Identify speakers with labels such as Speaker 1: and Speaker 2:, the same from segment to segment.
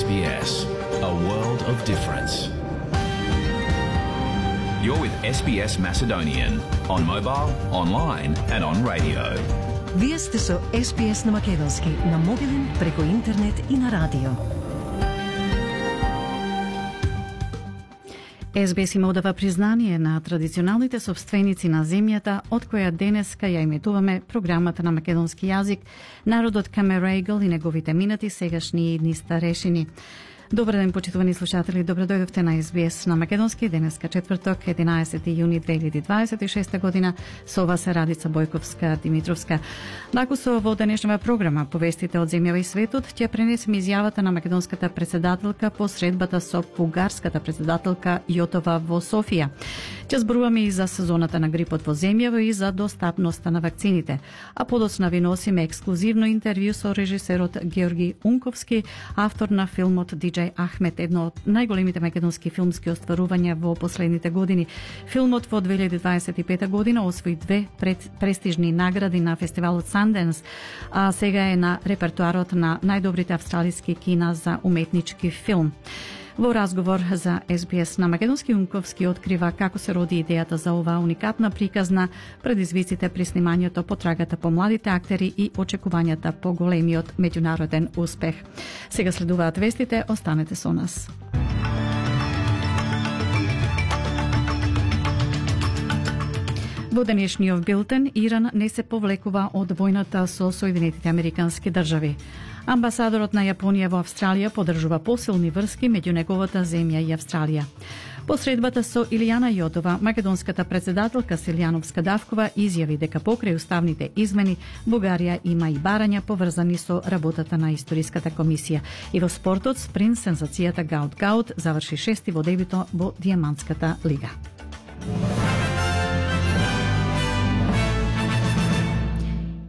Speaker 1: SBS, a world of difference. You're with SBS Macedonian on mobile, online and on radio.
Speaker 2: Вие сте со SBS на македонски, на мобилен, преку интернет и на радио. SBS има одава признание на традиционалните собственици на земјата, од која денеска ја иметуваме програмата на македонски јазик, народот Камерегл и неговите минати, сегашни и идни старешини. Добар ден, почитувани слушатели, добро дојдовте на SBS на македонски, денеска четврток, 11 јуни 2026 година. Со вас е Радица Бојковска-Димитровска. Накусо во денешната програма повестите од земјава и светот, ќе пренесеме изјавата на македонската председателка по средбата со бугарската председателка Јотова во Софија. Ќе зборуваме и за сезоната на грипот во земјава и за достапноста на вакцините. А подоцна ви носиме ексклузивно интервју со режисерот Георги Унковски, автор на филмот Диџеј Ахмет, едно од најголемите македонски филмски остварувања во последните години. Филмот во 2025 година освои две престижни награди на фестивалот Санденс, а сега е на репертуарот на најдобрите австралиски кина за уметнички филм. Во разговор за SBS на македонски, Унковски открива како се роди идејата за оваа уникатна приказна, предизвиците при снимањето, потрагата по младите актери и очекувањата по големиот меѓународен успех. Сега следуваат вестите, останете со нас. Во денешниот билтен, Иран не се повлекува од војната со Соединетите Американски држави. Амбасадорот на Јапонија во Австралија подржува посилни врски меѓу неговата земја и Австралија. По средбата со Илијана Јотова, македонската председателка Силјановска Давкова изјави дека покрај уставните измени Бугарија има и барања поврзани со работата на историската комисија. И во спортот, спринт сензацијата Гаут заврши шести во дебито во Дијамантската лига.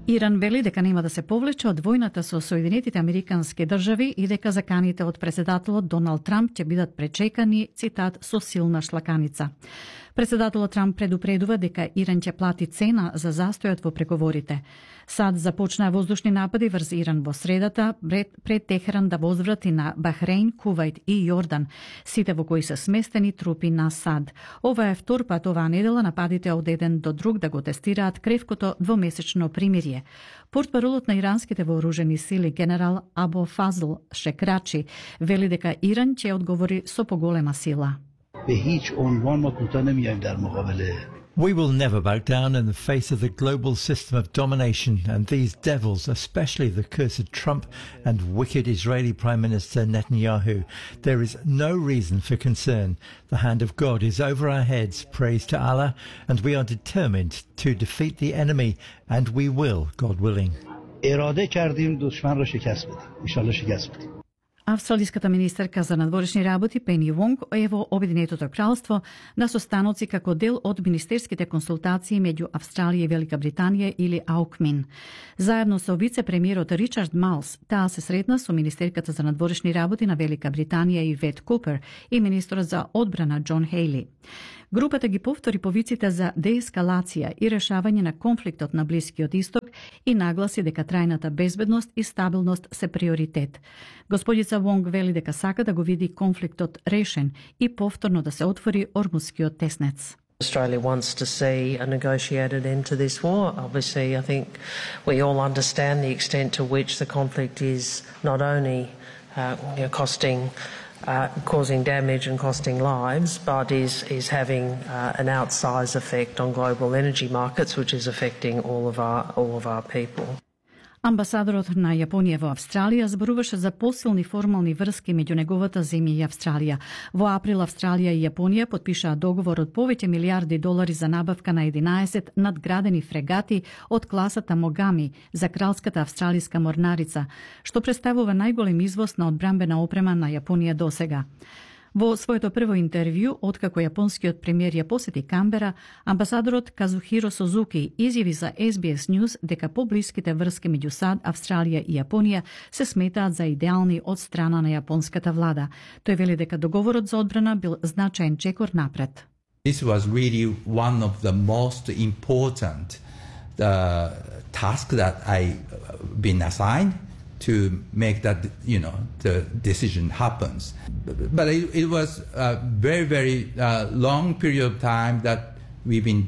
Speaker 2: Иран вели дека нема да се повлече од војната со Соединетите Американски држави и дека заканите од председателот Доналд Трамп ќе бидат пречекани, цитат, со силна шлаканица. Председателот Трамп предупредува дека Иран ќе плати цена за застојот во преговорите. САД започнаа воздушни напади врз Иран во средата пред Техеран да возврати на Бахрейн, Кувајт и Јордан, сите во кои се сместени трупи на САД. Ова е втор пат оваа недела нападите од еден до друг да го тестираат кревкото двомесечно примирие. Портпаролот на иранските вооружени сили генерал Абу Фазл Шекрачи вели дека Иран ќе одговори со поголема сила.
Speaker 3: We will never back down in the face of the global system of domination and these devils, especially the cursed Trump and wicked Israeli Prime Minister Netanyahu. There is no reason for concern. The hand of God is over our heads, praise to Allah, and we are determined to defeat the enemy, and we will, God willing.
Speaker 4: اراده کردیم دشمن را شکست بدیم. ان شاء الله شکست بدیم.
Speaker 2: Австралиската министерка за надворешни работи Пени Вонг е во Обединетото кралство на состаноци како дел од министерските консултации меѓу Австралија и Велика Британија или АУКМИН. Заедно со вице-премиерот Ричард Малс, таа се сретна со министерката за надворешни работи на Велика Британија Ивет Купер и министерот за одбрана Џон Хејли. Групата ги повтори повиците за деескалација и решавање на конфликтот на Блискиот Исток и нагласи дека трајната безбедност и стабилност се приоритет. Господица Вонг вели дека сака да го види конфликтот решен и повторно да се отвори Ормузскиот теснец.
Speaker 5: Australia wants to see a negotiated end to this war. Obviously, I think we all understand the extent to which the conflict is not only causing damage and costing lives, but is having an outsized effect on global energy markets, which is affecting all of our people.
Speaker 2: Амбасадорот на Јапонија во Австралија зборуваше за посилни формални врски меѓу неговата земја и Австралија. Во април Австралија и Јапонија подпишаа договор од повеќе милиарди долари за набавка на 11 надградени фрегати од класата Могами за кралската австралиска морнарица, што представува најголем извоз на одбранбена опрема на Јапонија досега. Во своето прво интервју, откако јапонскиот премиер ја посети Камбера, амбасадорот Казухиро Сузуки изјави за SBS News дека поблиските врски меѓу САД, Австралија и Јапонија се сметаат за идеални од страна на јапонската влада. Тој вели дека договорот за одбрана бил значаен чекор напред.
Speaker 6: This was really one of the most important task that I been assigned to make that, the decision happens. But it was a very, very long period of time that we've been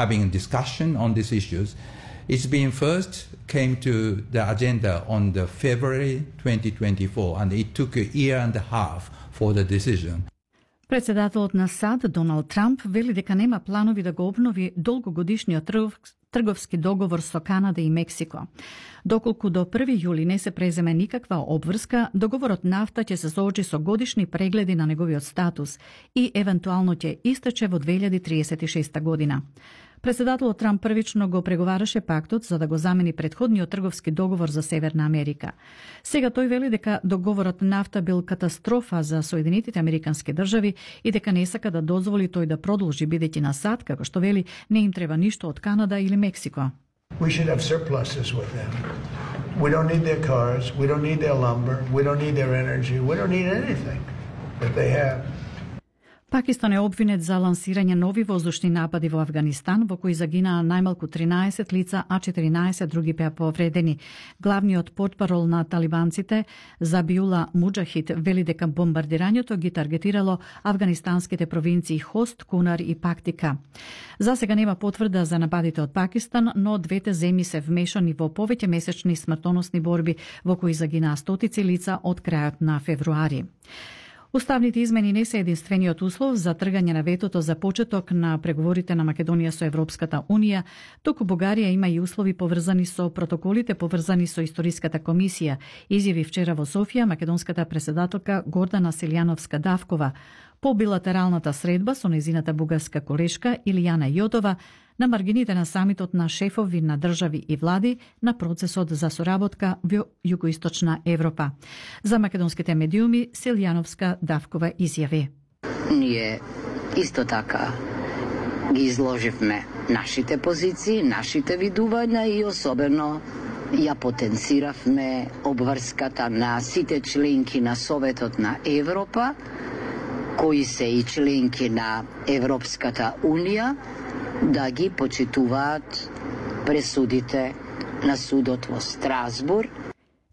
Speaker 6: having a discussion on these issues. It's been first came to the agenda on the February 2024, and it took a year and a half for the decision.
Speaker 2: Председателот на САД Доналд Трамп вели дека нема планови да го обнови долгогодишниот трговски договор со Канада и Мексико. Доколку до 1 јули не се преземе никаква обврска, договорот нафта ќе се соочи со годишни прегледи на неговиот статус и евентуално ќе истече во 2036 година. Председателот Трамп првично го преговараше пактот за да го замени претходниот трговски договор за Северна Америка. Сега тој вели дека договорот нафта бил катастрофа за Соединетите Американски држави и дека не сака да дозволи тој да продолжи, бидејќи на САД, како што вели, не им треба ништо од Канада или Мексико.
Speaker 7: We should have surpluses with them. We don't need their cars, we don't need their lumber, we don't need their energy, we don't need anything that they have.
Speaker 2: Пакистан е обвинет за лансирање нови воздушни напади во Афганистан, во кои загинаа најмалку 13 лица, а 14 други беа повредени. Главниот портпарол на талибанците, Забиула Муджахид, вели дека бомбардирањето ги таргетирало афганистанските провинции Хост, Кунар и Пактика. За сега нема потврда за нападите од Пакистан, но двете земји се вмешани во повеќе месечни смртоносни борби во кои загинаа стотици лица од крајот на февруари. Уставните измени не се единствениот услов за тргање на ветото за почеток на преговорите на Македонија со Европската Унија, туку Бугарија има и услови поврзани со протоколите поврзани со Историската комисија, изјави вчера во Софија македонската председателка Гордана Силјановска-Давкова по билатералната средба со незината бугарска колешка Илијана Јотова на маргините на самитот на шефови на држави и влади на процесот за соработка во југоисточна Европа. За македонските медиуми Силјановска-Давкова изјави:
Speaker 8: Ние исто така ги изложивме нашите позиции, нашите видувања и особено ја потенциравме обврската на сите членки на Советот на Европа, кои се и членки на Европската Унија, да ги почитуваат пресудите на судот во Страсбур.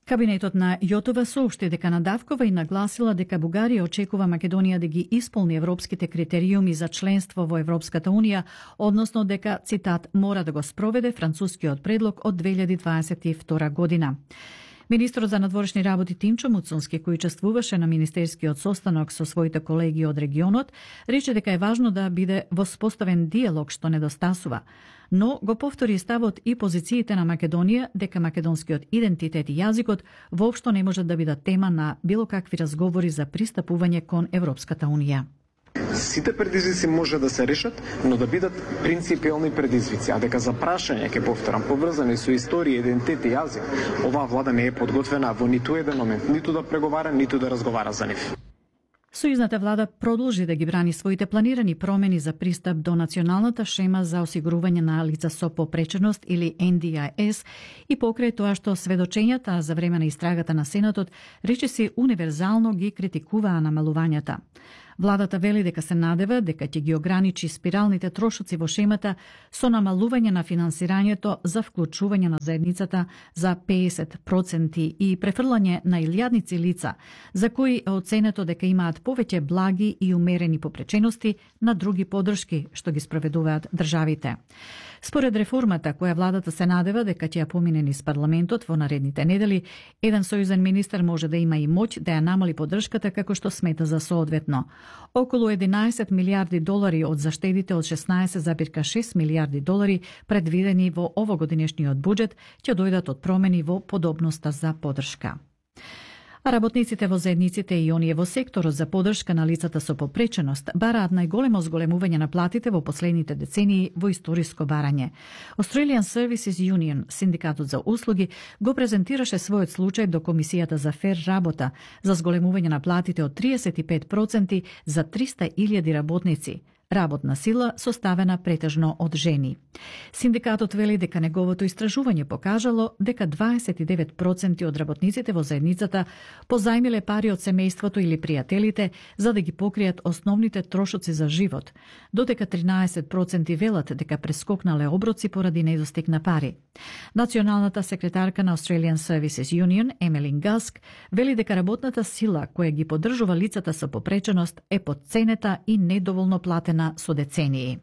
Speaker 2: Кабинетот на Јотова соопшти дека Надавкова и нагласила дека Бугарија очекува Македонија да ги исполни европските критериуми за членство во Европската Унија, односно дека, цитат, мора да го спроведе францускиот предлог од 2022 година. Министрот за надворешни работи Тимчо Муцунски, кој учествуваше на министерскиот состанок со своите колеги од регионот, рече дека е важно да биде воспоставен диалог што недостасува, но го повтори ставот и позициите на Македонија дека македонскиот идентитет и јазикот воопшто не можат да бидат тема на било какви разговори за пристапување кон Европската Унија.
Speaker 9: Сите предизвици може да се решат, но да бидат принципиални предизвици, а дека за прашање, ќе повторам, поврзани со историја, идентитет и јазик, оваа влада не е подготвена во ниту еден момент, ниту да преговара, ниту да разговара за нив.
Speaker 2: Сојузната влада продолжи да ги брани своите планирани промени за пристап до националната шема за осигурување на лица со попреченост или NDIS и покрај тоа што сведочењата за време на истрагата на Сенатот речиси универзално ги критикуваа намалувањата. Владата вели дека се надева дека ќе ги ограничи спиралните трошоци во шемата со намалување на финансирањето за вклучување на заедницата за 50% и префрлање на илјадници лица, за кои е оценето дека имаат повеќе благи и умерени попречености на други подршки што ги спроведуваат државите. Според реформата, која владата се надева дека ќе ја помине низ парламентот во наредните недели, еден сојузен министер може да има и моќ да ја намали поддршката како што смета за соодветно. Околу 11 милиарди долари од заштедите од 16,6 милиарди долари предвидени во овогодинешниот буџет ќе дојдат од промени во подобноста за поддршка. А работниците во заедниците и оние во секторот за поддршка на лицата со попреченост бараат најголемо зголемување на платите во последните децении во историско барање. Australian Services Union, синдикатот за услуги, го презентираше својот случај до Комисијата за фер работа за зголемување на платите од 35% за 300.000 работници, работна сила составена претежно од жени. Синдикатот вели дека неговото истражување покажало дека 29% од работниците во заедницата позајмиле пари од семејството или пријателите за да ги покријат основните трошоци за живот, додека 13% велат дека прескокнале оброци поради недостиг на пари. Националната секретарка на Australian Services Union, Емелин Гаск, вели дека работната сила која ги поддржува лицата со попреченост е потценета и недоволно платена со децении.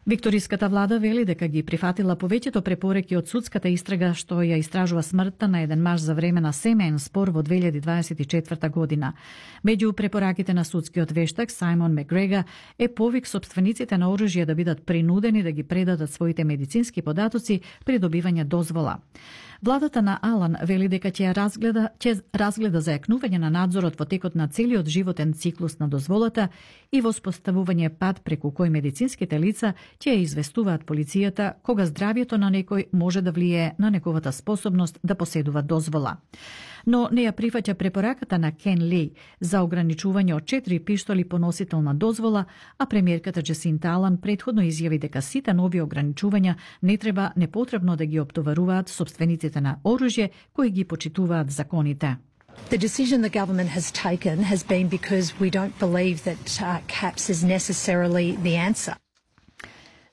Speaker 2: Викториската влада вели дека ги прифатила повеќето препореки од судската истрага што ја истражува смртта на еден маж за време на семеен спор во 2024 година. Меѓу препораките на судскиот вештак Сајмон Мегрега е повик собствениците на оружје да бидат принудени да ги предадат своите медицински податоци при добивање дозвола. Владата на Алан вели дека ќе разгледа зајакнување на надзорот во текот на целиот животен циклус на дозволата и воспоставување пат преку кој медицинските лица ќе ја известуваат полицијата кога здравјето на некој може да влијае на неговата способност да поседува дозвола. Но не ја прифаќа препораката на Кен Ли за ограничување од 4 пиштоли по носител на дозвола, а премиерката Джесинта Алан претходно изјави дека сите нови ограничувања не треба непотребно да ги оптоваруваат собствениците на оружје кои ги почитуваат законите.
Speaker 10: The decision the government has taken has been because we don't believe that caps is necessarily the answer.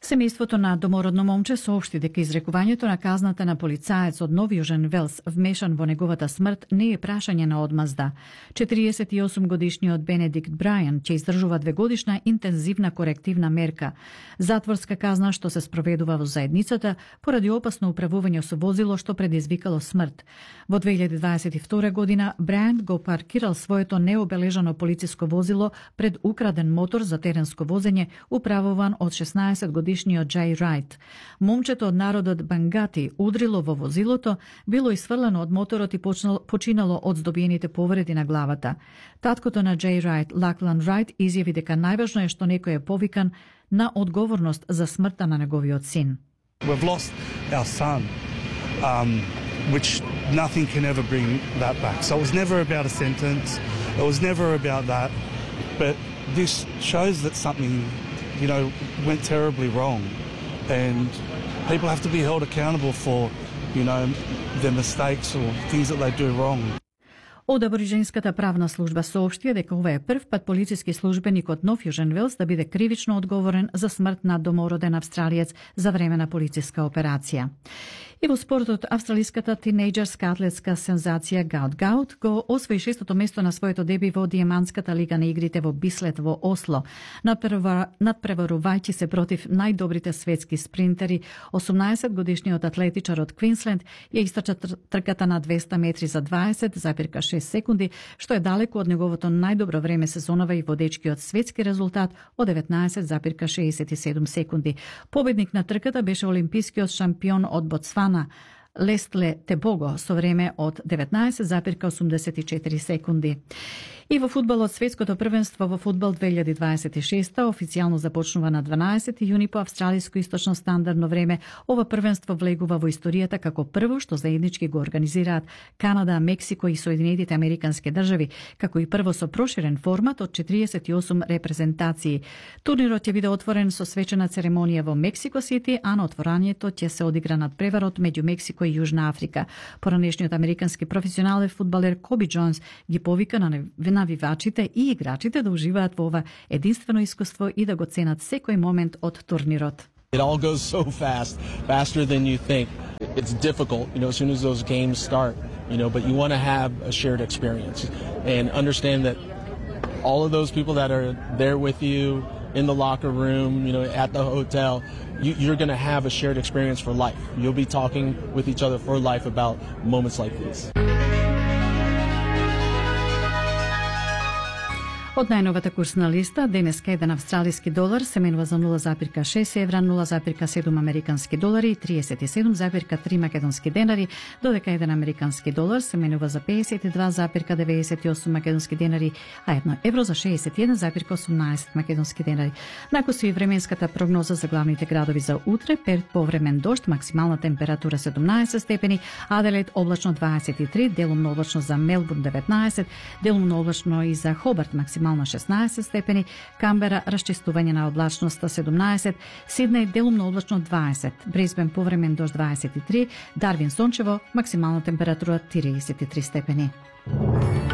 Speaker 2: Семејството на домородно момче соопшти дека изрекувањето на казната на полицаец од Нов Јужен Велс вмешан во неговата смрт не е прашање на одмазда. 48 годишниот Бенедикт Брајан ќе издржува 2-годишна интензивна корективна мерка, затворска казна што се спроведува во заедницата поради опасно управување со возило што предизвикало смрт. Во 2022 година Брајан го паркирал своето необележано полициско возило пред украден мотор за теренско возење управуван од 16 годишниот Джей Райт. Момчето од народот Бангати удрило во возилото, било исфрлено од моторот и починало од здобиените повреди на главата. Таткото на Джей Райт, Лаклан Райт, изјави дека најважно е што некој е повикан на одговорност за смртта на неговиот син.
Speaker 11: We've lost our son, which nothing can ever bring that back. So it was never about a sentence. It was never about that. But this shows that something, went terribly wrong. And people have to be held accountable for, their mistakes or things that they do wrong.
Speaker 2: Од аборигенската правна служба соопштија дека ова е прв пат полициски службеник од Нов Јужен Велс да биде кривично одговорен за смрт на домороден австралиец за време на полициска операција. И во спортот, австралиската тинејџерска атлетска сензација Гаут Гаут го освои 6-то место на своето деби во Диемантската лига на игрите во Бислет во Осло, надпреварувајќи се против најдобрите светски спринтери. 18-годишниот атлетичар од Квинсленд ја истрча трката на 200 метри за 20,6 секунди, што е далеку од неговото најдобро време сезонава и водечкиот светски резултат од 19,67 секунди. Победник на трката беше олимпискиот шампион од Ботсвана Лестле Тебого со време од 19,84 секунди. И во фудбалот, светското првенство во фудбал 2026 официјално започнува на 12 јуни по австралиско источно стандардно време. Ова првенство влегува во историјата како прво што заеднички го организираат Канада, Мексико и Соединетите Американски држави, како и прво со проширен формат од 48 репрезентации. Турнирот ќе биде отворен со свечена церемонија во Мексико Сити, а на отворањето ќе се одигра надпреварот меѓу Мексико и Јужна Африка. Поранешниот американски професионален фудбалер Коби Џонс ги повика на навивачите и играчите да уживаат во ова единствено искуство и да го ценат секој момент од турнирот.
Speaker 12: It all goes so fast, faster than you think. It's difficult, as soon as those games start, but you want to have a shared experience and understand that all of those people that are there with you in the locker room, at the hotel, you're going to have a shared experience for life. You'll be talking with each other for life about moments like these.
Speaker 2: Од најновата курсна листа, денеска еден австралиски долар се менува за 0,6 евра, 0,7 американски долари и 37,3 македонски денари, додека еден американски долар се менува за 52,98 македонски денари, а 1 евро за 61,18 македонски денари. Накусу и временската прогноза за главните градови за утре: Перт повремен дожд, максимална температура 17 степени, Аделаид облачно 23, делумно облачно за Мелбурн 19, делумно облачно и за Хобарт максимална максимално 16 степени, Камбера расчистување на облачноста 17, Сиднеј делумно облачно 20, Брисбен повремен дожд 23, Дарвин сончево, максимална температура 33 степени.